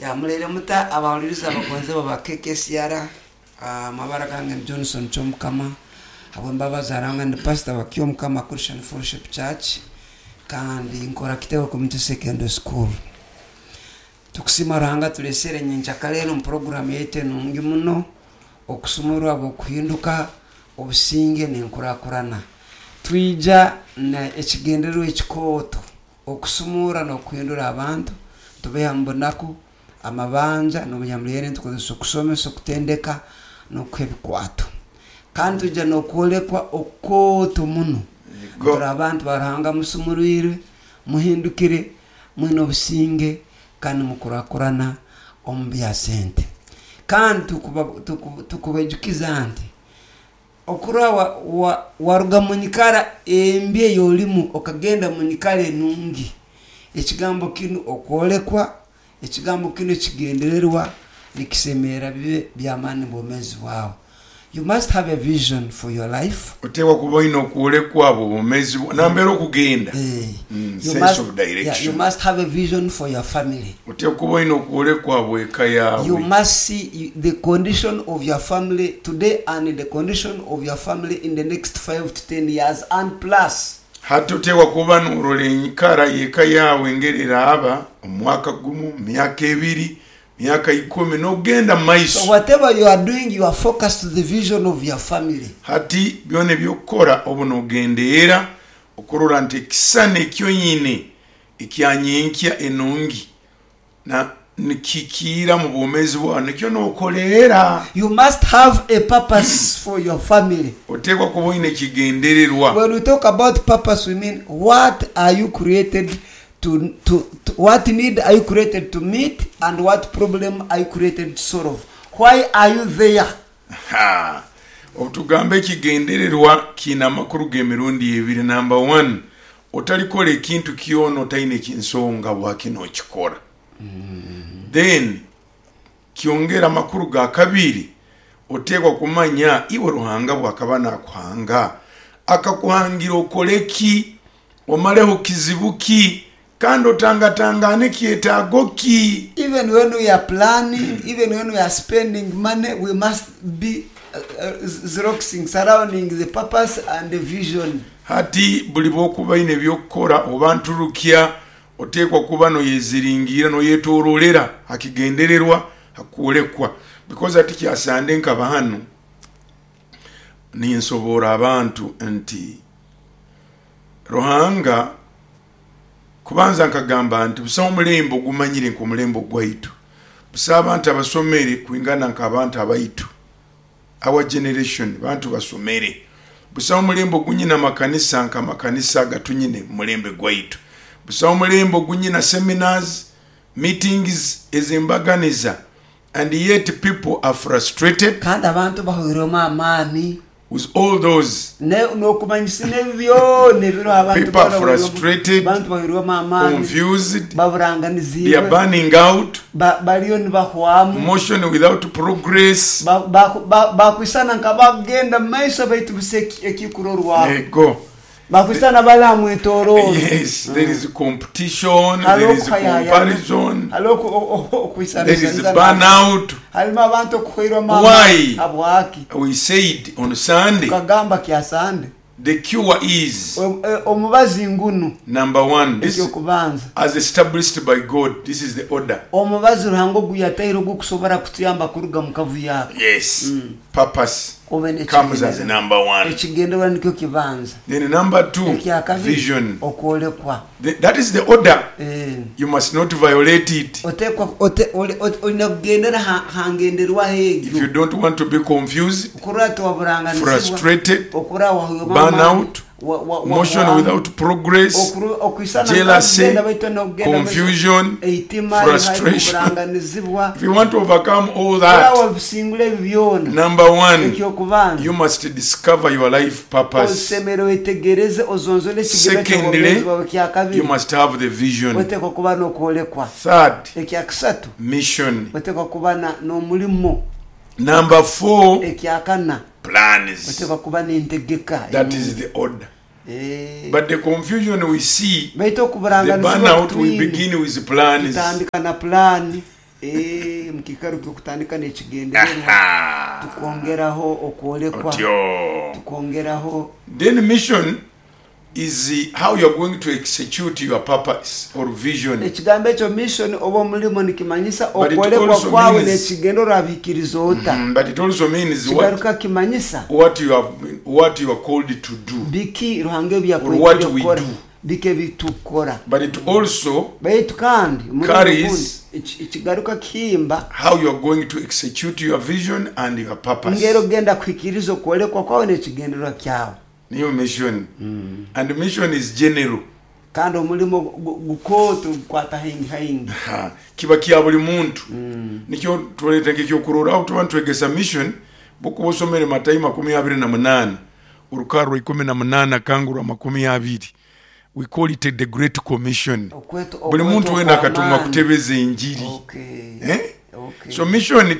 Ya muraire muta abahuliriza abagonzebwa ba KKCR. Amabara gange ni Johnson Kyomukama. Habw'embabazi za Ruhanga ndi pastor wa Kyomukama Christian Fellowship Church kandi nkora Kitebe Community Secondary School. Tukusiima Ruhanga aturesere nyenkyakara enu omu program yaitu enungi muno okusumurwa habw'okuhinduka, obusinge n'enkurakurana. Twija na ekigendererwa ekikooto Okusumuura n'okuhindura abantu nitubaiha mu bunaku, amabanja, n'obunyamuleere nitukozesa okusomesa, okutendeka, n'okuha ebikwato. Kandi twija n'okwolekwa okukooto muno. Turi abantu ba Ruhanga musumurwirwe, muhindukire, mwine obusinge, kandi nimukurakurana omu bya sente. Kandi tukubaijukiza nti Okurora waruga mu nyikara embi ey'olimu okagenda mu nyikara enungi. Ekigambo kinu okwolekwa, ekigambo kinu ekigendererwa nikisemerra bibe by'amaani mu bwomeezi bwawe. You must have a vision for your life. Oteekwa kuba oine okwolekwa habw'obwomeezi bwawe, nambere okugenda, You sense must, of yeah, you direction. must have a vision for your family. Oteekwa kuba oine okwolekwa habw'eka You yaawe. must see the condition of your family today and the condition of your family in the next 5 to 10 years and plus. Hati oteekwa kuba norora enyikara y'eka yaawe engeri eraaba omu mwaka gumu, myaka ebiri, myaka ikumi n'okugenda mu So maiso. whatever you are doing you are focused to the vision of your family. Hati byona eby'okukora obu nogendeera okurora nti ekisisani ekyonyini ekya nyenkya enungi na nikihikiira mu bwomeezi bwawe nikyo nokoleera. You must have a purpose for your family. Oteekwa kuba oine ekigendererwa. When we talk about purpose we mean what are you created to, to, to what need are you created to meet and what problem are you created to solve? Why are you there? Ha! Obutugamba ekigendererwa kiine amakuru g'emirundi ebiri. Namba wani, otalikora ekintu kyona otaine nsonga habwaki nokikora. Then kyongera amakuru ga kabiri, oteekwa kumanya iwe Ruhanga bwakaba nakuhanga, akakuhangira okole ki, omaleho kizibu ki, kandi otangatangaane kyetaago ki. Even when we are planning, even when we are spending money, we must be xeroxing, surrounding the purpose and the vision. Hati buli bw'okuba oine eby'okukora oba nturukya, oteekwa kuba noyeziringiira, noyetoroolera ha kigendererwa, ha kwolekwa. Because hati kya Sande nkaba hanu ninsoboora abantu nti Ruhanga Kubanza nkagamba nti busaho mulembe ogumanyire nk'omulembe ogwaitu. Busaho abantu abasomere kwingana nk'abantu abaitu. Our generation bantu basomere. Busaho mulembe ogunyina amakanisa nk'amakanisa agatunyine mu mulembe gwaitu. Busaho mulembe ogunyina seminars, meetings ez'embaganiza and yet people are frustrated. Kandi abantu bahweirwemu amaani. With all those. N'okumanyisa n'ebi byona ebiriho abantu People are frustrated, abantu bahweirwemu amaani, confused, they are baburanganiziibwe, burning out, bariyo nibahwamu, motion without progress. Bakwisana nk'abakugenda mu maiso baitu busa ekikurorwaho. Ego. Bakwisana bali aha mwetorooro. Yes, there is competition, Hariho there is okuhayahayana, comparison, hariho there is okwisanisanisa n'abantu, burnout. harimu abantu okuhweirwamu amaani. Why? Habwaki? We said on Sunday, Tukagamba Kyasande, the cure is omubazi ngunu, number one, this eky'okubanza, as established by God, this is the order. Omubazi Ruhanga ogu yataire ogw'okusobora kutuyamba kuruga mu kavuyo ako. Yes, purpose Obe comes as n'ekigendererwa. number one. Ekigendererwa nikyo kibanza. Then number two, Ekyakabiri, vision. okwolekwa. That is the order. Eh. You must not violate it. Otekwa ote, ole, ote, olina kugendera ha, ha ngenderwaho If you egyo. don't want to be confused, Okurora tiwaburanganizibwa, frustrated, okurora wahwirwemu burn amaani, out, wa, wa, motion wahwamu, without progress, okwisana jealousy, nk'okugenda baitu n'okugenda baitu confusion, eitima, ihari, frustration. kuburanganizibwa. If you want to overcome all Kurora that, wabisingura ebi byona, number one, eky'okubanza, you must discover your life purpose. osemere wetegereze ozonzole ekigendererwa Secondly, ky'obwomeezi bwawe. you Ekyakabiri, must have the vision. otekwa kuba n'okwolekwa. Third, Ekyakisatu, mission. otekwa kuba n'omulimo. Number four, Ekyakana, plans. otekwa kuba n'entegeka That is enungi. the order. Eh. But the confusion we see, Baitu the okuburanganizibwa burnout, we kutwine, begin with plans. tutandika na pulaani. Eh, mukiikaro ky'okutandika n'ekigendererwa tukongeraho okwolekwa, Otyo. Tukongeraho. Then mission is how you are going to execute your purpose or vision. Ekigambo ekyo mission oba omulimo nikimanyisa But it okwolekwa also kwawe means- n'ekigendererwa orabihikiriza ota. But it also means what, Kigaruka kimanyisa what you have what you are called to do. biki Ruhanga ebi Or what yakwetire we kukora, do. biki ebitukora. But it also Baitu kandi omurundi Carries- ogundi, ekigaruka kihimba how you are going to execute your vision and your purpose. ngeri ogenda kuhikiriza okwolekwa kwawe n'ekigendererwa kyawe. Niyo mission. And mission is general. Kandi omulimo gukooto gukwata haingi haingi. Ha, kiba kya buli muntu. Nikyo tuleeta nk'ekyokurorraho, tuba nitwegesa mission, bukuba osomere Matayo 28, orukarro 18 kangu rwa 20, we call it the Great Commission. Buli muntu wena akatumwa okw'amaani. kutebeza enjiri. Okay. Eh? Okay. So mission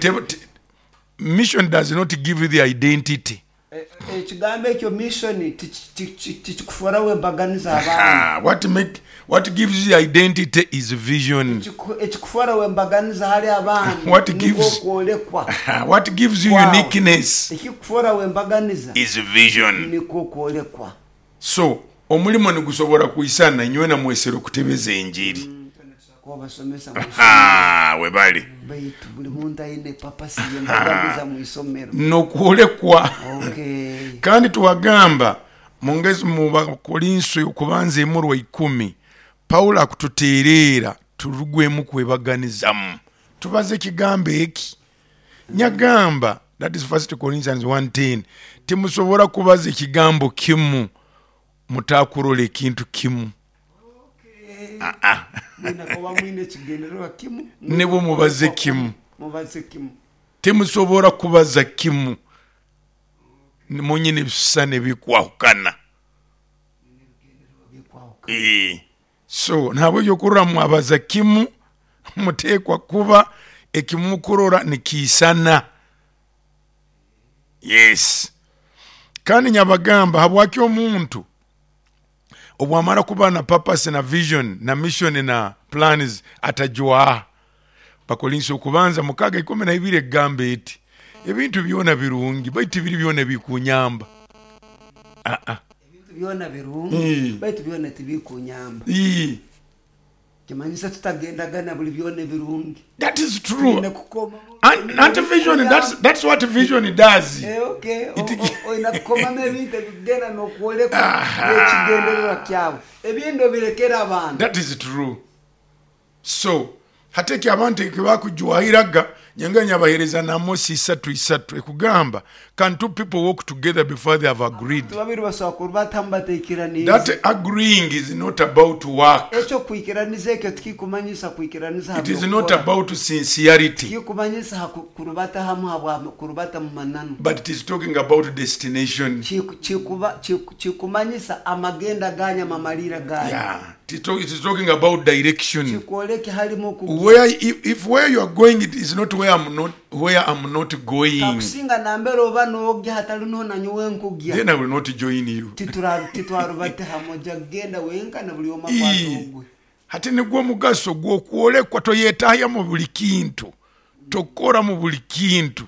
mission does not give you the identity. Ekigambo ekyo mission tikikuforaho embaganiza abandi. Ah, what gives you identity is vision. Ekikuforaho embaganiza hali abandi What nikwo gives- okwolekwa. What gives you Wow. uniqueness Ekikuforaho embaganiza is vision. nikwo okwolekwa. So omulimo nigusobora kwisana nyowe namwesera okutebeza enjiri. Kubasomesa Ah, webale. baitu buli muntu aine papasi yembaganiza mu isomero. Nokwolekwa. Okay. Kandi tuwagamba mungezi mu Bakorinso okubanza emurwa 10, Paulo akututeereera turugwemu kwebaganizamu. Tubaze ekigambo eki nyagamba, that is 1 Corinthians 1:10, timusobora kubaza ekigambo kimu mutakurola ekintu kimu. Mwine kuba mwine ekigendererwa kimu. Nibwo mubaze kimu. Mubaze kimu. Timusobora kubaza kimu munyine ebisisani ebikwahukana. Bikwahukana. So ntabwo kurora mwabaza kimu, mutekwa kuba ekimukurora nikiisana. Yes. Kandi nyabagamba habwaki omuntu obwamara kuba na purpose na vision na mission na plans atajwaha. Bakorinso okubanza 6:12 egamba eti ebintu byona birungi baitu biri byona bikunyamba. Ebintu byona birungi baitu byona tibikunyamba. Kimanyisa tutagendagana buli byona ebirungi. That is true. Twine kukoma. And vision, that's what vision does. Eh, okay. Oyina kukomamu ebintu ebigenda n'okwolekwa n'ekigendererwa kyawe. Ebindi obirekera abantu. That is true. So hateki abantu ekibakujwahiraga nyenga nyabahereza na Amosi 3:3 ekugamba, can two people walk together before they have agreed? Abantu babiri basobola kurubatamu bateikiranize. That agreeing is not about work. Ekyo kwikiraniza ekyo tikikumanyisa kwikiraniza It is ha not by'okukora. about sincerity. Tikikumanyisa ha kurubata hamu habwa kurubata mu mananu. But it is talking about destination. Kikumanyisa amagenda ganya mamalira ganya. Yeah. It is talking about direction. Kikwoleke halimu ku Where if where you are going it is not where I'm not, where I'm not going. Kakusinga nambere oba n'ogya hatali noho nanyowe nkugya. Then I will not join you. Titwarubate hamoja genda wenka na buli omu akwata ogwe. Hati nigwo omugaso gw'okwolekwa, toyetahya mu buli kintu, tokora mu buli kintu,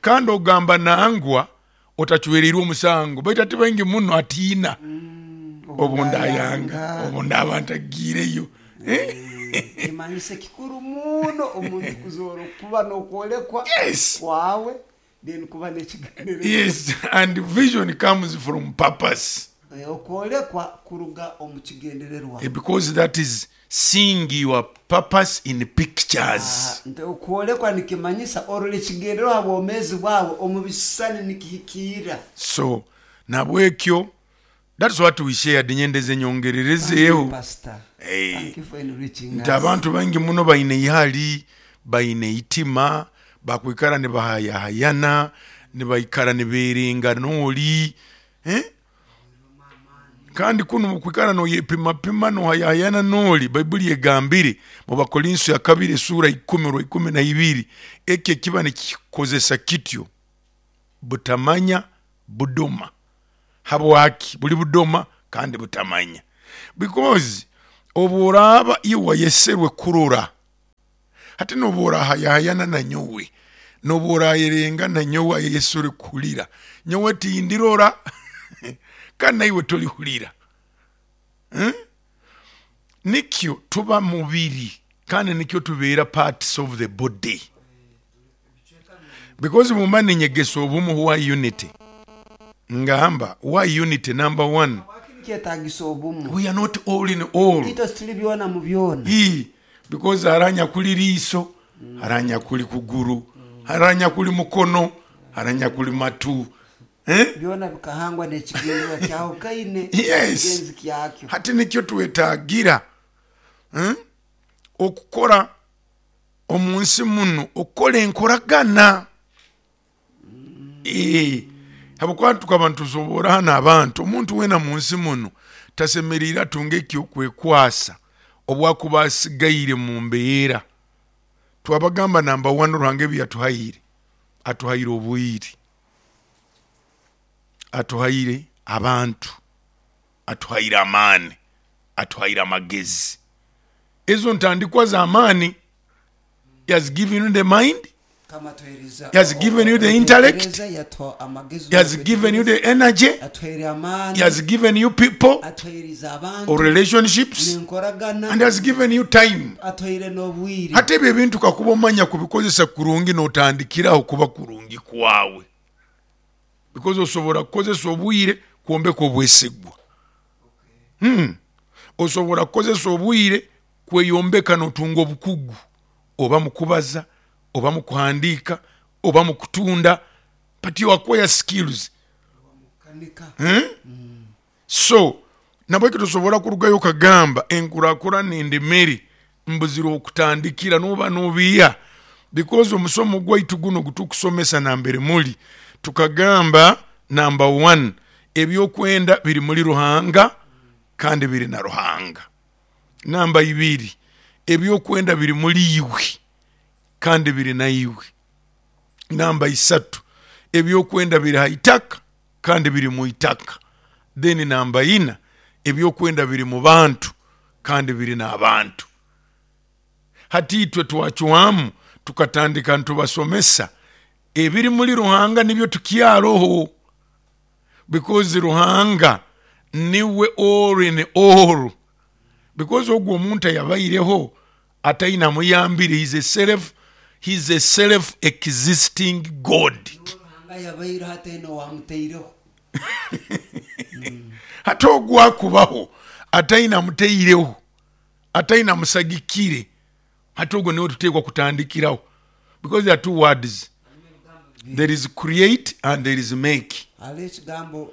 kandi ogamba nangwa otacwereirwe omusango, baitu ati baingi muno atiina obundayanga obundaba ntagiireyo. Kimanyise kikuru muno omuntu kuzoora kuba n'okwolekwa Yes. kwawe, then kuba n'ekigendererwa. Yes, and vision comes from purpose. Okwolekwa kuruga omu kigendererwa. Because that is seeing your purpose in pictures. Nti okwolekwa nikimanyisa orora ekigendererwa ha bwomeezi bwawe omu bisisani nikihikiira. So nabwekyo that's what we shared, nyendeze nyongererezeeho. Pastor, Hey. thank you for enriching Nti us. abantu baingi muno baine ihali, baine itima, bakwikara nibahayahayana, nibaikara niberenga noli. Kandi kuno mukwikara noyepimapima nohayahayana noli, Baibuli egambire mu Bakorinso ya 2 sura 10 rwa 12, ekyo kiba nikikozesa kityo butamanya budoma. Habwaki buli budoma kandi butamanya? Because oburaba iwe wayeserwe kurora, Hati nobu orahayahayana na nyowe, nobu orayerenga na nyowe, Yesu orikuhurira, nyowe tindirora kandi naiwe torihurira. Nikyo tuba mubiri kandi nikyo tubeera parts of the body. Because bwemba ninyegesa obumu, why unity? Ngamba why unity number one. Habwaki nikyetagisa obumu? We are not all in all. Itwe tituli byona mu byona. Ii, because hariho anyakuli riiso, hariho anyakuli kuguru, hariho anyakuli mukono, hariho anyakuli matu. Eh? Byona bikahangwa n'ekigendererwa kyahukaine. Yes. Ekigenzi kyakyo. Hati nikyo twetagira okukora omu nsi muno, okukora enkoragana. Habwokuba tukaba nitusoboora hanu abantu, omuntu weena mu nsi muno tasemeriire atunge ekyokwekwasa obu akuba asigaire mu mbeera. Twabagamba namba one, Ruhanga ebi yatuhaire, atuhaire obwire, atuhaire abantu, atuhaire amaani, atuhaire amagezi. Ezo ntandikwa z'amaani. He has given you the mind, Kama atuhereza He has given you the intellect. okutekereza, yatuha amagezi he has given you the energy, atuhaire amaani, he has given you people atuhairiza abantu or relationships, n'enkoragana, and has given you time. Atuhaire n'obwire. Hati ebyo ebintu kakuba omanya kubikozesa kurungi, notandikiraho kuba kurungi kwawe, because osobora kukozesa obwire kwombeka obwesigwa. Osobora kukozesa obwire kweyombeka notunga obukugu, oba mukubaza, oba mukuhandiika, oba mukutunda, but you acquire skills. Kanika. So nabweki tosobora kurugayo okagamba enkurakurana endemere mbuzire okutandikira, noba nobiiha, because omusomo gwaitu guno ogutukusomesa nambere muli, tukagamba number one, ebyokwenda biri muri Ruhanga kandi biri na Ruhanga. Namba ibiri, ebyokwenda biri muri iwe kandi biri naiwe. Namba isatu, ebyokwenda biri ha itaka kandi biri mu itaka. Then namba ina, ebyokwenda biri mu bantu kandi biri n'abantu. Hati itwe twacwamu tukatandika nitubasomesa ebiri muri Ruhanga nibyo tukyaroho, because Ruhanga niwe all in all, because ogwo omuntu ayabaireho ataine amuyambire, he is a self existing God. Ruhanga yabaireho ataine owamutaireho. Hati ogwo akubaho ataine amutaireho, ataine amusagikire, hati ogwo niwe tuteekwa kutandikiraho, because there are two words, there is create and there is make. Hariho ekigambo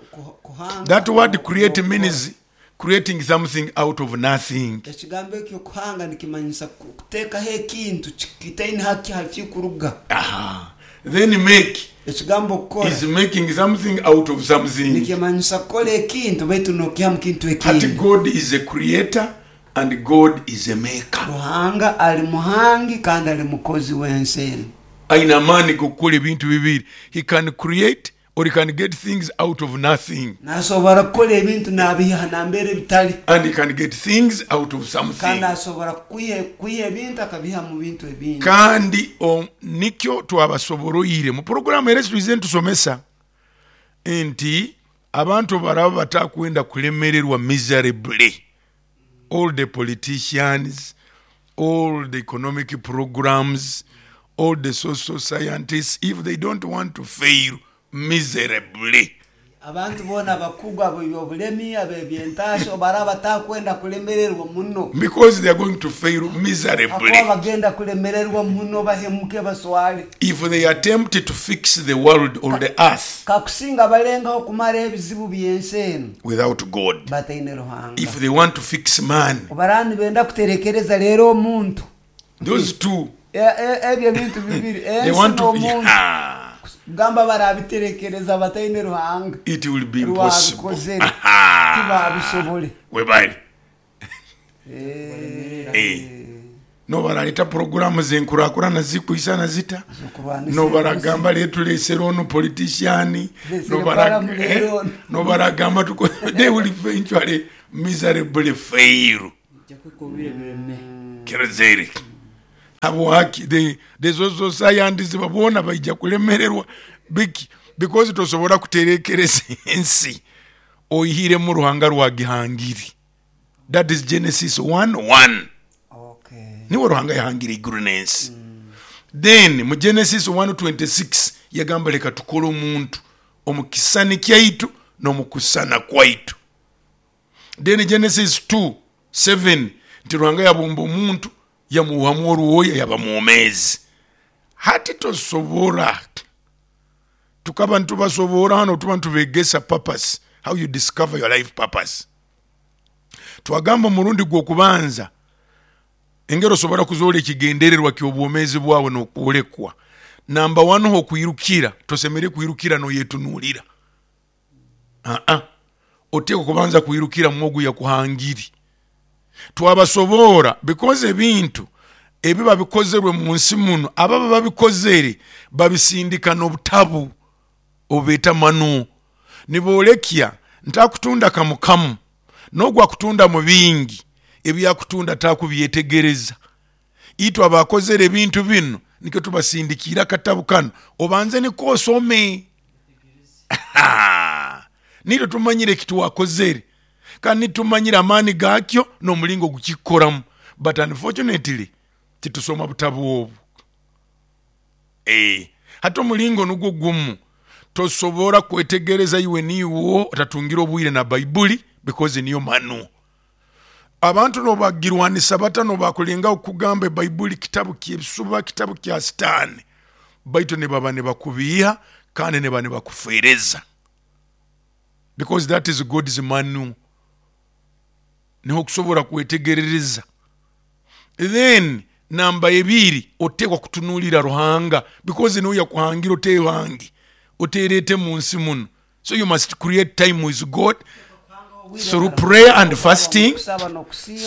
kuhanga That word create n'okukora. means creating something out of nothing. Ekigambo ekyo kuhanga nikimanyisa kuteekaho ekintu kitaine hakikuruga. Aha. Then make Ekigambo kukora is making something out of something. Nikimanyisa kukora ekintu baitu nokiha mu kintu Hati ekindi. God is a creator and God is a maker. Ruhanga ali muhangi kandi ali mukozi w'ensi enu. Aine amaani g'okukora ebintu bibiri. He can create or he can get things out of nothing. Nasobora kukora ebintu nabiiha nambere bitali. And he can get things out of something. Kandi asobora kwiha ebintu akabiiha mu bintu ebindi. Kandi nikyo twabasoboroire mu puroguramu era ezi twize nitusomesa nti abantu baraba batakwenda kulemererwa miserably, all the politicians, all the economic programs, all the social scientists, if they don't want to fail miserably, Abantu boona abakugu ab'ebyobulemi, ab'ebyentaasha, obu baraaba batakwenda kulemererwa muno, because they are going to fail miserably hakuba bagenda kulemererwa muno bahemuke baswale. if they attempt to fix the world or the earth Kakusinga balengaho kumara ebizibu by'ensi enu without God, bataine Ruhanga. if they want to fix man, Obu baraaba nibenda kuterekereza rero omuntu, those two, ebyo ebintu bibiri, they ensi want to n'omuntu, Ah, kugamba barabiterekereza bataine Ruhanga, it will be impossible. rwabikozere tibabisobole. Webale. Nobaraleta puroguramu zenkurakurana zikwisana zita, Z'okurwanisa nobaragamba letulesere ono politician, Tulesere Balamu leero ono. nobaragamba they will eventually miserably fail. Nja kwikubira ebireme. Kerezeri. Habwaki? The social scientists boona baija kulemererwa. Biki? Because tosobora kuterekereza ensi oihiremu Ruhanga rwagihangire. That is Genesis 1:1. Niwe Ruhanga yahangire iguru n'ensi. Then mu Genesis 1:26 yagamba leka tukole omuntu omu kisisani kyaitu n'omu kusisana kwaitu. Then Genesis 2:7 nti Ruhanga yabumba omuntu yamuhamu orwoya yaba mwomeezi. Hati tosobora, tukaba nitubasoboora hanu tuba nitubegesa purpose, how you discover your life purpose. Twagamba omurundi gw'okubanza engeri osobora kuzoora ekigendererwa ky'obwomeezi bwawe n'okwolekwa. Namba one, hokwirukira, tosemeriire kwirukira noyetunuulira. Aa, oteekwa kubanza kwirukira mwogu yakuhangire. Twabasoboora because ebintu ebiba bikozerwe mu nsi muno, ababa babikozere babisindika n'obutabu obubeeta manual. Niboolekya nti akutunda kamu kamu, n'ogu akutunda mu bingi, ebyakutunda takubyetegereza. Itwe abakozere ebintu binu nikyo tubasindikiire akatabu kanu, obanze niko osome. Nitwe tumanyire ekitwakozere kandi nitumanyire amaani gakyo n'omulingo gukikoramu, but unfortunately titusoma butabu obu. Hati omulingo nugwo gumu, tosobora kwetegereza iwe niiwe otatungire obwire na Baibuli because niyo manual. Abantu nobagirwanisa bata, nobakulengaho kugamba ebaibuli kitabu ky'ebisuba, kitabu kya Sitaani, baitu nibaba nibakubiiha kandi niba nibakufeereza because that is God's manual. Niho okusobora kwetegerereza. Then namba ebiri, oteekwa kutunuulira Ruhanga because niwe yakuhangire, oteehange, oteereete mu nsi muno. So you must create time with God through prayer and fasting,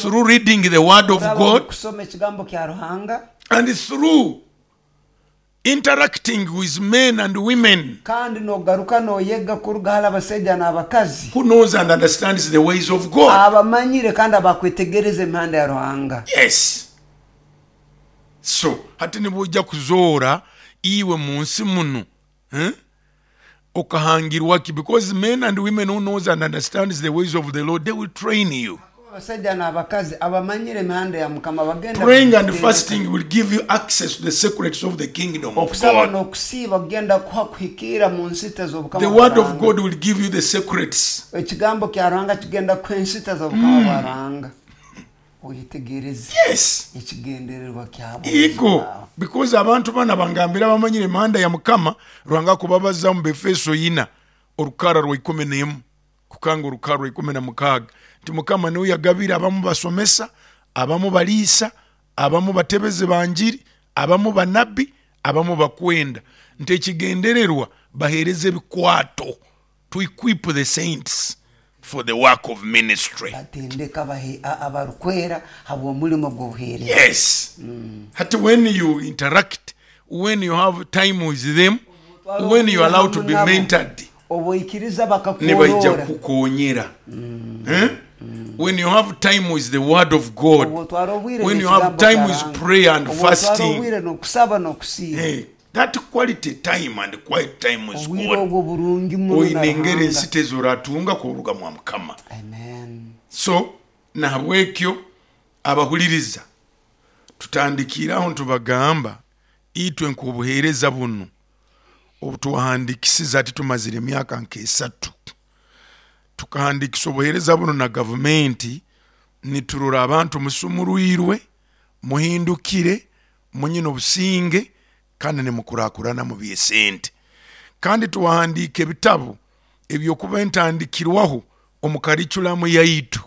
through reading the word of God, and through interacting with men and women Kandi nogaruka noyega kuruga hali abasaija n'abakazi who knows and understands the ways of God. abamanyire kandi abakwetegereza emihanda ya Ruhanga. Yes. So hati nibwoija kuzoora iwe mu nsi munu, eh? Okahangirwa ki? Because men and women who knows and understands the ways of the Lord, they will train you. Hakuba abasaija n'abakazi abamanyire emihanda ya Mukama bagenda Praying and kugitendeka. fasting will give you access to the secrets of the kingdom of Okusaba God. n'okusiiba kugenda kuha kuhikiira mu nsita The z'obukama bwa word of Ruhanga. God will give you the secrets. Ekigambo kya Ruhanga kigenda kuha ensita z'obukama bwa Ruhanga. Oyetegereze Yes. ekigendererwa kyabwomeezi Ego, bwawe. because abantu bana bangambira abamanyire emihanda ya Mukama, Ruhanga akubabaza mu Befeso ina orukara rwa ikumi n'emu kukanga orukara rwa ikumi na mukaaga nti Mukama niwe yagabire abamu basomesa, abamu baliisa, abamu batebezi banjiri, abamu banabbi, abamu bakwenda, nti ekigendererwa baheereze ebikwato, to equip the saints for the work of ministry. Batendeka abarukwera habw'omulimo gw'obuheereza. Yes. Hati when you interact, when you have time with them, Otwara when you obwire allow to hamu be nabo, mentored, obu oikiriza nibaija bakakworora. kukukonyera. When you have time with the word of God, Obu otwara obwire when you have n'ekigambo kya time with Ruhanga, prayer and obu otwara fasting, obwire n'okusaba n'okusiiba, hey, that quality time and quiet time with obwire God, obwo burungi muno na oine engeri Ruhanga. ensita ezoratunga kuruga mwa Mukama. Amen. So nahabwekyo abahuliriza tutandikiraho ntubagamba itwe nk'obuheereza bunu obutuhandikisiza ati tumazire emyaka nk'esatu tukahandikisa obuheereza buno na gavumenti, niturora abantu musumurwirwe, muhindukire, munyine obusinge kandi nimukurakurana mu by'esente. Kandi tuwahandiika ebitabu ebyokuba entandikirwaho omu kariculamu yaitu.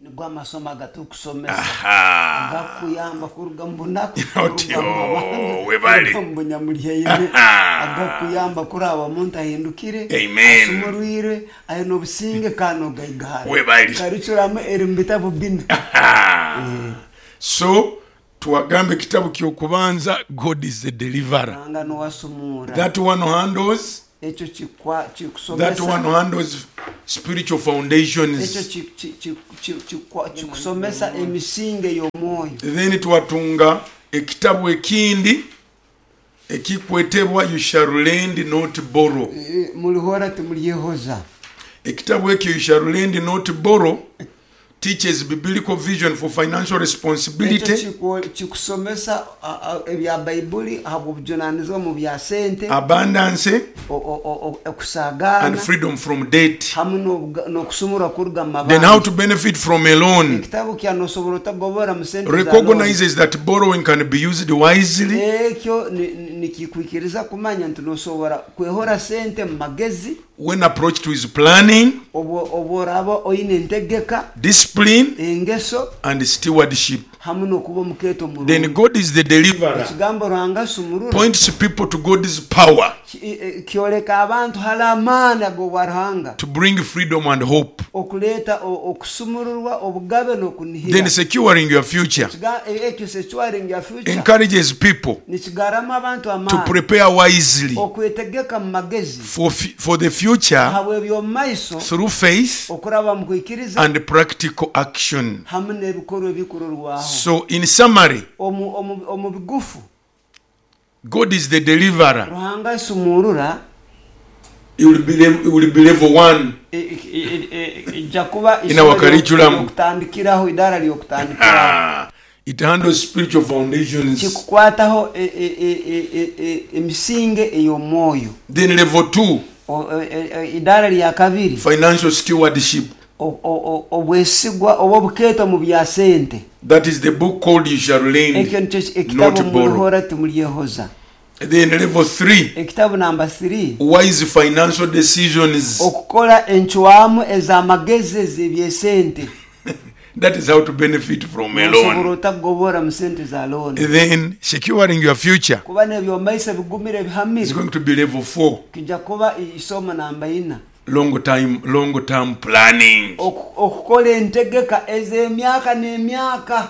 Nigwo amasomo agatukusomesa Aha. agakuyamba kuruga mu bunaku, Otyo, kuruga mu mabanga, webale. kuruga mu bunyamulyaine, Aha. agakuyamba kuraba omuntu ahindukire, Amen. asumurwirwe, aine obusinge kandi ogaigahara. Webale. Kariculamu eri mu bitabu bina. Aha. So tuwagamba ekitabu ky'okubanza, God is the deliverer. Ruhanga niwasumura. That one handles Ekyo That kikusomesa one handles spiritual ekyo foundations. Kikusomesa emisingi ey'omwoyo. Then twatunga ekitabu ekindi ekikwetebwa You Shall Lend Not Borrow. Mulihora timulyehoza. Ekitabu ekyo, You Shall Lend Not Borrow, teaches biblical vision for financial Ekyo responsibility, kikusomesa ebya Baibuli habw'obujunanizibwa mu bya sente, abundance, and okusagaana freedom from debt. Hamu n'okusumurwa kuruga mu Then how mabanja. to benefit from a loan Ekitabu kya nosobora otagobora mu sente za loan. recognizes that borrowing can be used wisely Ekyo nikikwikiriza kumanya nti nosobora kwehora sente mu magezi when approached with planning, obworaba oine entegeka, discipline, engeso and stewardship. Hamu n'okuba omukeeto Then omurungi. God is the deliverer Ekigambo Ruhanga asumurura points people to God's power kyoleka abantu hali amaani ag'obwa Ruhanga to bring freedom and hope. okuleeta okusumururwa, obugabe Then n'okunihira. securing your future Ekyo securing your future encourages people nikigaramu abantu to amaani prepare wisely okwetegeka mu magezi for the future habw'ebyomumaiso through faith okuraba mu kwikiriza and practical action. Hamu n'ebikorwa ebikurorwaho. So, in summary, Omu bigufu, God is the deliverer. Ruhanga asumurura. It will be level one. Ijja kuba In our curriculum. Lyokutandikiraho, idara lyokutandikiraho. It handles spiritual foundations. Kikukwataho emisinge ey'omwoyo. Then level two, Idara lya kabiri, financial stewardship. Obwesigwa oba obukeeto mu bya sente. That is the book called You Shall Ekyo Lend, nikyo ekitabo Not Borrow. Mulihora timulyehoza. Then level three, Ekitabo namba 3, wise financial decisions. Okukola encwamu ez'amagezi ez'ebyesente. That is how to benefit from a Nosobora loan. otagobora mu sente za looni. Then securing your future Kuba n'ebyomaiso bigumire is bihamire going to be level four, kijja kuba isomo namba ina. Long term planning. Okukola entegeka ez'emyaka n'emyaka.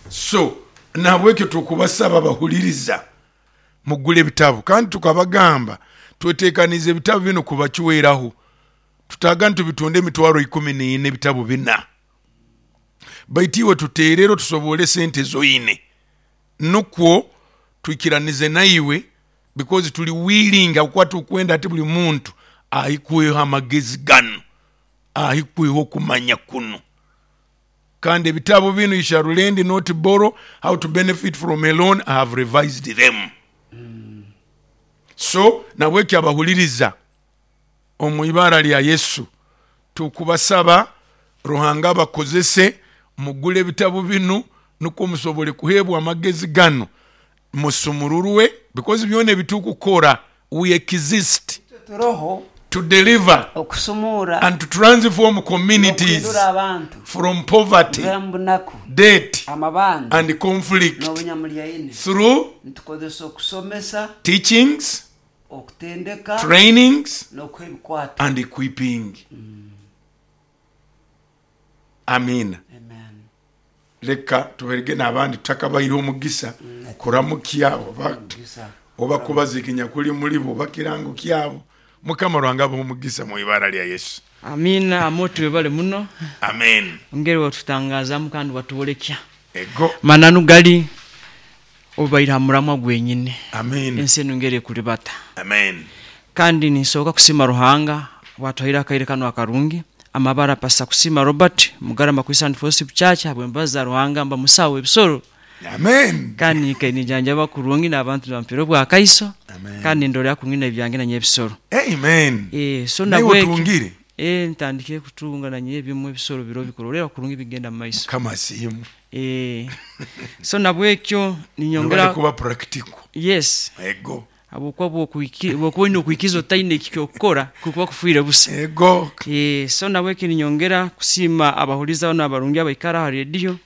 So nabwekyo tukubasaba bahuliriza mugule ebitabo, kandi tukabagamba twetekanize ebitabo bino kubakiweraho tutaga nitubitonda 140,000 ebitabo bina, baitu iwe tuterero tusobole sente zoine nukwo twikiranize naiwe, because tuli willing akuba tukwenda ati buli muntu ahikweho amagezi gano, ahikweho okumanya kuno. Kandi ebitabo bino, You Shall Lend Not Borrow, How to Benefit from a Loan, I have revised them. So nabwekyo abahuliriza, omu ibara lya Yesu tukubasaba Ruhanga abakozese mugule ebitabo bino nukwo musobole kuhebwa amagezi gano, musumururwe, because byona ebitukukora, we exist Turoho to deliver okusumura and to transform communities n'okuhindura abantu from poverty, kuva mu bunaku, debt, amabanja and conflict n'obunyamulyaine through nitukozesa okusomesa, teachings, okutendeka trainings, n'okuha ebikwato. And equipping. Amina. Amen. Leka tuberege n'abandi tutakabaire omugisa kuramukya oba Mugisa. Oba kubazikinya kuli mulibo oba kirango kyabo. Mukama Rwanga abahe omugisa mu ibara lya Yesu. Amina amotu webale muno. Amen. Ongeri watutangazamu kandi watubolekya Ego. Mananu gali obaire ha muramwa gwenyine. Amen. Ensi enu ngeri ekulibata. Amen. Kandi ninsooka kusima Ruhanga bwatuhaire akaire kano akarungi. Amabara Pasa Kusima Robert Mugarama Christian Fellowship Church, habwembaza za Ruhanga mba musawo ebisoro. Amen. Kandi ninjanjaba kurungi n'abantu nibampera obwakaiso. Amen. Kandi ndorera kurungi n'ebyange nanye ebisoro. Amen. So Nawe nabweki otungire. Ntandikire kutunga nanye ebimwe ebisoro biro bikurorera kurungi bigenda mu maiso. Kama simu. So nabwekyo ninyongera Nobale kuba practical. Yes. Ego. Habwokuba bwokuba olina okwikiza otaine ekyokukora kukuba kufiire busa. Ego. So nabweki ninyongera kusiima abahuliza bano abarungi abaikara aha rediyo,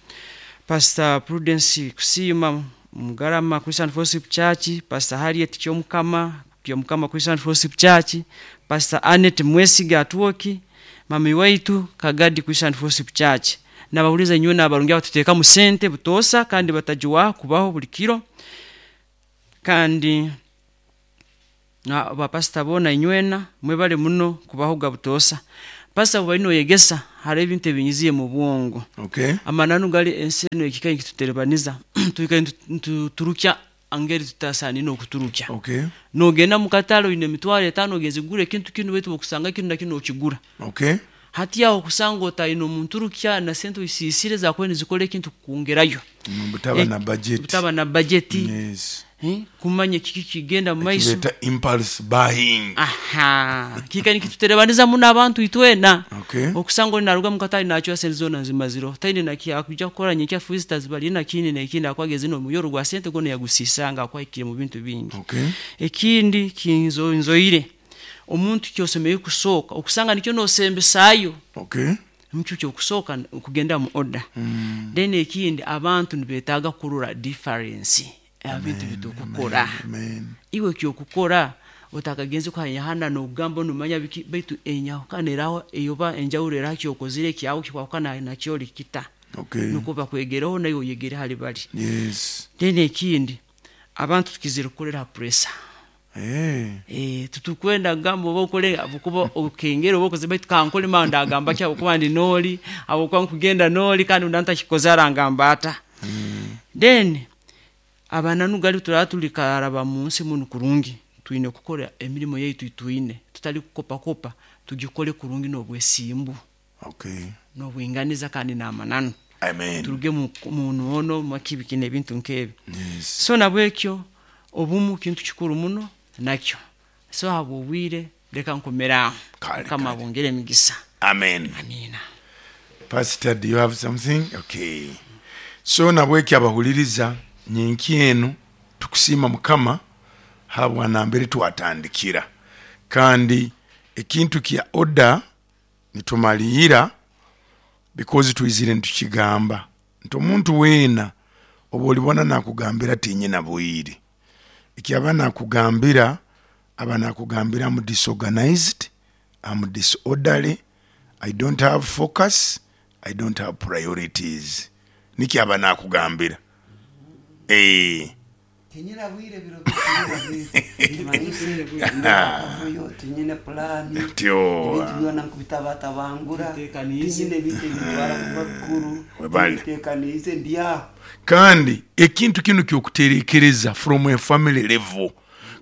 Pastor Prudence Kusiima Mugarama Christian Fellowship Church, Pastor Harriet Kyomukama Kyomukama Christian Fellowship Church, Pastor Annette Mwesiga Atwoki, mami waitu Kagadi Christian Fellowship Church, nabahuliza inywe n'abarungi abatuteekamu sente butoosa kandi batagiwaho kubaho buli kiro. Kandi Na bapasita boona inywena mwebale muno kubahoga butoosa. Pasita bwali noyegesa hariho ebintu ebinyiziye mu bwongo. Okay. Amananu gali ensi eno ekika nikituterebaniza twikaire nituturukya angeri tutasaanire okuturukya. Okay. Nogenda mu katale oine 50,000 ogenze kugura ekintu kinu, baitu okusanga kinu na kinu okigura. Okay. Hati aho okusanga otaine omunturukya na sente oisiisire zakuba nizikora ekintu kukwongerayo. Butaba na budget. Butaba na bajeti. Yes. Kumanya kiki kigenda mu maiso. Ekibeeta impulse buying. Aha, kiika nikituterebaniza muno abantu itwena. Okay. Okusanga oli naruga mu katale nacwa sente zoona nzimazireho, taine naki akuija kukora nyenkya visitors bali nakindi nekindi akuba agenzire nomuyoro gwa sente gwona yagusisanga akuba ahikire mu bintu bingi. Okay. Ekindi kinzoire, omuntu kyosemeriire kusooka okusanga nikyo nosembesaayo. Okay. Nikyo kyokusooka kugenda mu order. Then ekindi abantu nibetaaga kurora difference ebintu bitukukora. Amen. Iwe kyokukora otakagenze kuhayahana nokugamba nomanya biki, baitu enyahukana eraho eyoba enjawulo eraho kyokozire kyawe kikwahukana nakyoli kita. Okay. Nukwo bakwegereho naiwe oyegere hali bali. Yes. Then ekindi abantu tukizire kukolera ha pressure. Hey. Tutukwenda kugamba oba okole abukuba okengere oba okoze, baitu kankole mara ndagamba ki abukuba ndi nooli, abukuba nkugenda nooli kandi nda ntakikoze arangamba ata. Then abananu gali turaba tuli karaba mu nsi munu kurungi, twine kukora emirimo yaitu twine tutali kukopakopa, tugikole kurungi n'obwesimbu. Okay. N'obwinganiza kandi n'amananu. Amen. Turuge mu noono makibiki n'ebintu nk'ebi. Yes. So nabwekyo obumu kintu kikuru muno nakyo. So habw'obwire leka nkomere aho. Kale, Mukama kale. abongere emigisa. Amen. Amina. Pastor, do you have something? Okay. So nabwekyo abahuliriza nyenki enu tukusiima Mukama habwa nambere twatandikira, kandi ekintu kya order nitumaliira because twizire nitukigamba nti omuntu weena oba olibona nakugambira tinyina bwire, ekyaba nakugambira aba nakugambira am disorganized, am disorderly, I don't have focus, I don't have priorities. Nikyo aba nakugambira. Tinyina bwire biro bwire ndakavuyo tinyine plani. Tyo. Ebintu byona nkubitabatabangura. Teekaniize. Tinyine ebintu ebitwara kuba bikuru. Webale. Teekaniize ndya. Kandi ekintu kinu kyokuterekereza from a family level,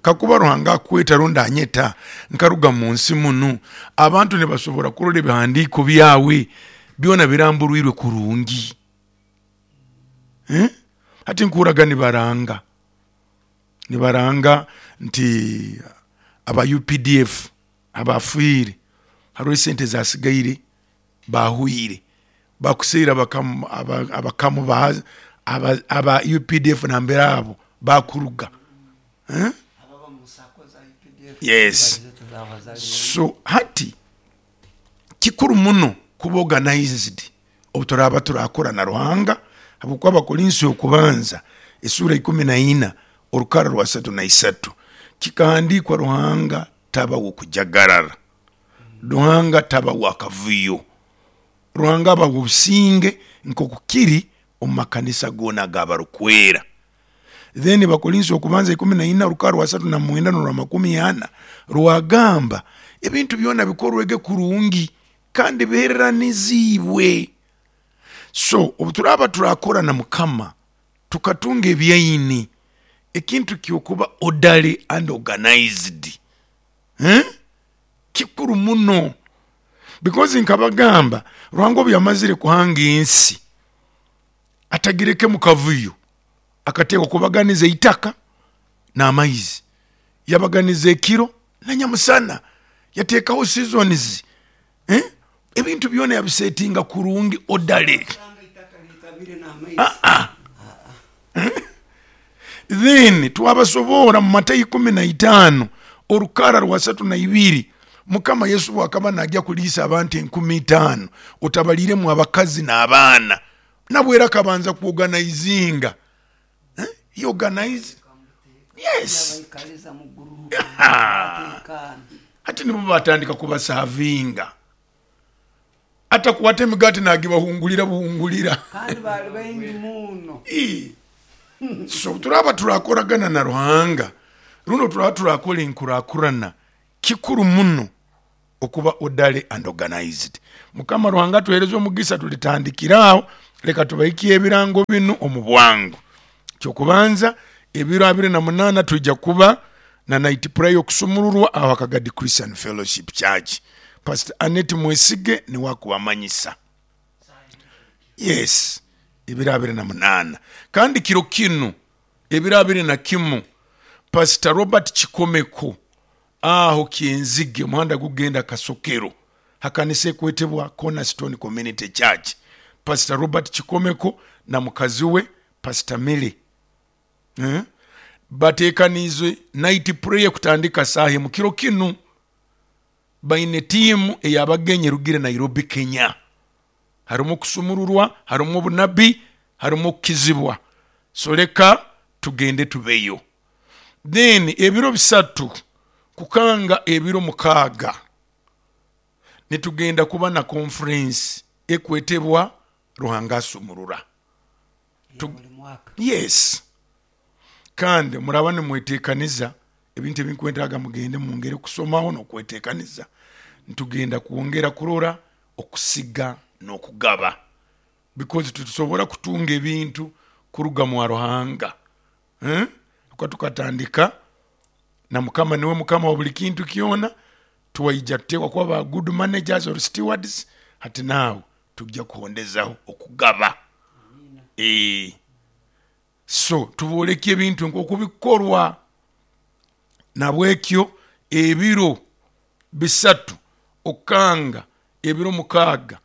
kakuba Ruhanga akweta rundi anyeta nkaruga mu nsi munu, abantu nibasobora kurora ebihandiiko byawe byona biramburwirwe kurungi. Hati nkuraga nibaranga nti aba UPDF abafiire hariho esente zasigaire bahwire bakuseera abakamu aba UPDF nambere abo bakuruga. Ababa mu sako za UPDF. Yes. So hati kikuru muno kuba organized obu turaba turakora na Ruhanga, habwokuba Abakorinso okubanza esura 14 orukara rwa 33 kikahandikwa Ruhanga taba wokujagarara, Ruhanga taba wakavuyo, Ruhanga aba obusinge nk'okukiri omu makanisa goona agabarukwera. Then Bakorinso okubanza 14 orukara rwa 39 n'orwa 40 rwagamba ebintu byona bikorwege kurungi kandi bihereranizibwe. So obu turaba turakora na Mukama tukatunga ebyaini, ekintu kyokuba orderly and organized. Kikuru muno because nkabagamba Ruhanga obu yamazire kuhanga ensi atagireke mu kavuyo, akateekwa kubaganiza eitaka n'amaizi, yabaganiza ekiro na nyamusana, yateekaho seasons. Ebintu byona yabisetinga kurungi orderly. Then twabasoboora mu Matayo 15 orukara rwa 32, Mukama Yesu bwakaba najya kuliisa abantu 5,000 otabaliremu abakazi n'abaana, nabwo era akabanza kuorganizinga. He organize. Yes. Yabaikaliza mu group. Batekana. Hati nibo batandika kubasavinga, atakwata emigati nagibahungulira buhungulira. Kandi bali baingi muno. So turaba turakoragana na Ruhanga. Runo turaba turakora enkurakurana, kikuru muno okuba orderly and organized. Mukama Ruhanga atuhereze omugisa, tulitandikira aho. Leka tubahikie ebirango binu omu bwangu. Kyokubanza, ebiro 28 twija kuba na night prayer okusumururwa aho Akagadi Christian Fellowship Church. Pastor Annette Mwesige niwe akubamanyisa. Yes, ebiro 28. Kandi kiro kinu ebiro 21, Pastor Robert Kikomeko aho Kyenzige, omuhanda gugenda Kasokero, hakanisa ekwetebwa Cornerstone Community Church. Pastor Robert Kikomeko na mukazi we Pastor Milly batekaniize night prayer kutandika saaha emu kiro kinu. Baine tiimu ey'abagenyi erugire Nairobi, Kenya. Harimu okusumururwa, harimu obunabi, harimu okukizibwa. So leka tugende tubeyo. Then ebiro 3 kukanga ebiro 6 nitugenda kuba na conference ekwetebwa Ruhanga Asumurura. Yes. Kandi muraba nimwetekaniza ebintu ebinkwetaaga, mugende mwongere kusomaho n'okwetekaniza. Nitugenda kwongera kurora okusiga n'okugaba, because titusobora kutunga ebintu kuruga mwa Ruhanga. Kuba tukatandika na Mukama niwe Mukama wa buli kintu kyona, twaija tuteekwa kuba ba good managers or stewards. Hati naawe tujja kuhondezaho okugaba. So tubooleke ebintu nk'oku bikorwa. Nabwekyo ebiro 3 okanga ebiro 6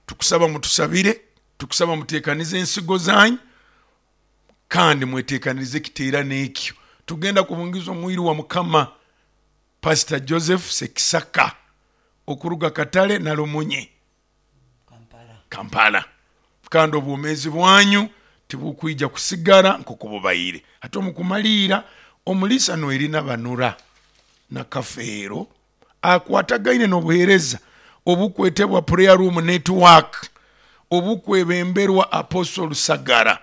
tukusaba mutusabire, tukusaba mutekanize ensigo zanyu, kandi mwetekanirize ekiteerano ekyo. Tugenda kubungiza omwiru wa Mukama Pastor Joseph Sekisaka okuruga Katale na Lumunye, Kampala. Kandi obwomeezi bwanyu tibukwija kusigara nk'oku bubaire. Hati omu kumaliira, omuliisa Noelina Banura na Kafeero akwatagaine n'obuheereza obukwetebwa Prayer Room Network obukwebemberwa Apostle Rusagara,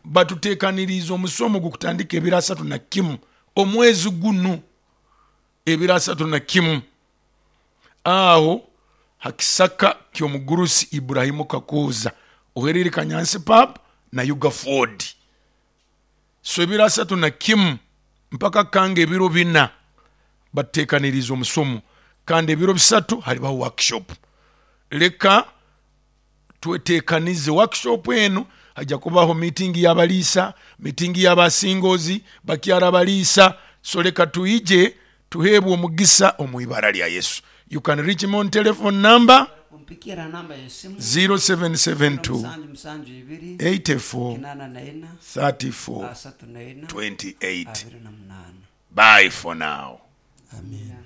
batutekaniriize omusomo gukutandika ebiro 31 omwezi gunu, ebiro 31 aho hakisaka ky'omugurusi Ibrahimu Kakuuza oherire Kanyansi Pub na Yuga Ford. So ebiro 31 mpaka kanga ebiro 4 batutekaniriize omusomo, kandi ebiro 3 halibaho workshop. Leka twetekanize workshop enu, hajja kubaho meeting y'abaliisa, meeting y'abasingozi, bakyara abaliisa. So leka tuije tuheebwe omugisa omu ibara lya Yesu. You can reach me on telephone number Kumpikira namba y'esimu 0772 772 84 84 34 34 28. 28. Bye for now. Amen.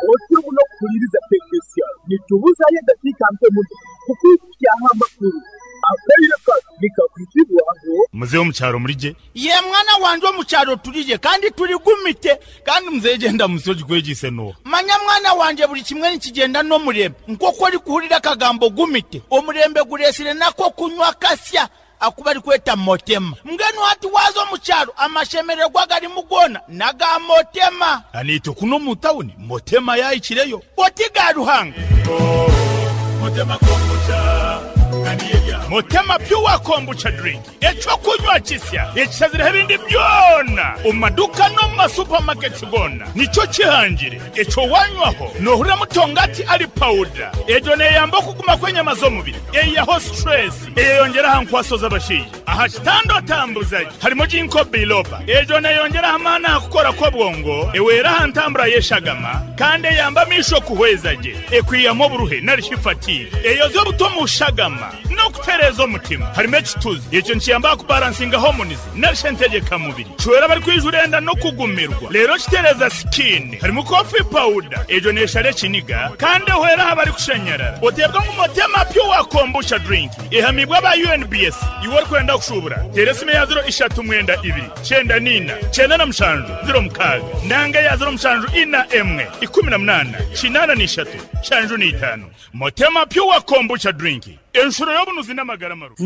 Otyo muno okuhuliriza KKCR. Nitubuzayo edakiika nke muno kukwikukyaho amakuru. Akaire kanu nikakwizibwaho. Muzeeyi omu kyaro muri gye? Ye mwana wangye, omu kyaro turi gye kandi turigumite. Kandi muzeeyi gyenda musi ogikwegyise n'oha? Manya mwana wangye, buri kimwe nikigyenda n'omurembe. Nk'oku orikuhurira akagambo gumite, omurembe gureesire nako kunywa kasya aku barikweta motema. Mbwenu hati waaza omu kyaro, amashemererwa garimu goona n'aga motema. Naitwe kunu omu tawuni motema yaahikireyo. Oti ga Ruhanga. Motema Pure Kombucha Drink, ekyokunywa kisya ekishazireho ebindi byona omu maduuka n'omu masupamaketi goona, nikyo kihangire ekyo wanywaho noohurira mutongati ari pawuda. Egyo neeyamba okuguma kw'enyama z'omubiri, eihaho situresi, eyeyongyera aha nkwaso z'abashaija. Aha kitanda otambuza gye harimu Ginkgo biloba. Egyo neeyongyera aha maani aha kukora kw'obwongo, ehwera aha ntambura y'eshagama, kandi eyamba amaisho kuhweza gye, ekwihamu oburuhe nari shi fatigue, eyozya obuta omu shagama, n'okutereeza omutima. Harimu ekituzi, ekyo nikiyamba aha kubaransinga hormones nari shi entegyekamubiri. Kihwera abarikwijura enda n'okugumirwa, reero kitereeza sikiini. Harimu coffee powder, egyo neeshara ekiniga kandi ehwera aha barikushanyarara. Oteebwa ngu Motema Pure Kombucha Drink ehamiibwe aba UNBS. Iwe orikwenda kushuubura, teera esimu eya 0 3 2 94 97 06 nanga eya 0 7 4 1 18 83 75. Motema Pure Kombucha Drink, enshuro y'obunuzi n'amagara marungi.